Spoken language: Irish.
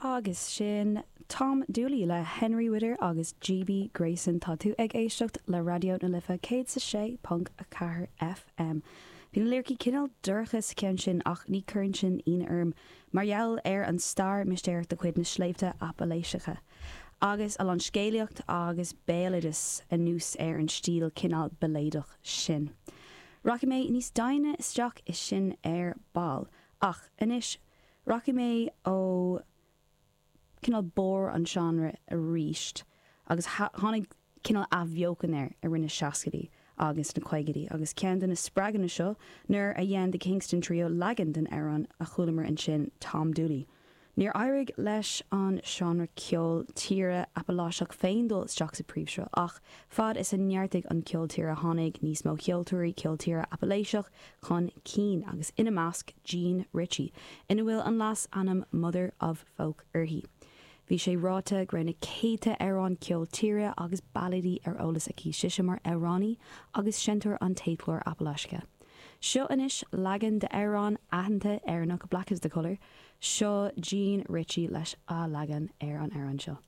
Agus sin Tom Dooley le Henry Whitter agus GB Grayson. Tá tú ag éisteacht le Raidió na Life 106.4 FM. Bhí na liricí cineál dorcha sa cheann sin ach ní chuireann sin ionadh orm mar gheall ar an stair mistéireach de chuid na sléibhte Apaláiseacha agus a lán scéalaíocht agus béaloideas anuas ar an stíl cineál bailéadach sin. Rachaidh mé níos doimhne isteach i sin ar ball ach anois Rachaidh mé ó cineál barr an seánra arís agus tháinig cineál athbheochan air i rith na seascaidí agus na caogaidí agus ceann de na spreaganna seo nuair a dhein The Kingston Trio leagan den amhrán a chualamar ansin Tom Dooley. Níor éirigh leis an seánra ceol tíre Apaláiseach féin dul isteach sa príomhshruth ach fad is a neartaigh an ceol tíre tháinig níos mó ceoltóirí ceol tíre Apaláiseach chun cinn agus ina measc Jean Ritchie, ina bhfuil an leasainm Mother of Folk uirthi. Bhí sé ráite go raibh na céadta amhrán ceol tíre agus bailéidí ar eolas aici sise mar amhránaí agus seinnteoir an téadchláir Apaláiseacha. Seo anois leagan d'amhrán aitheanta Éireannach Black is the Colour, seo Jean Ritchie leis a leagan ar an amhrán seo.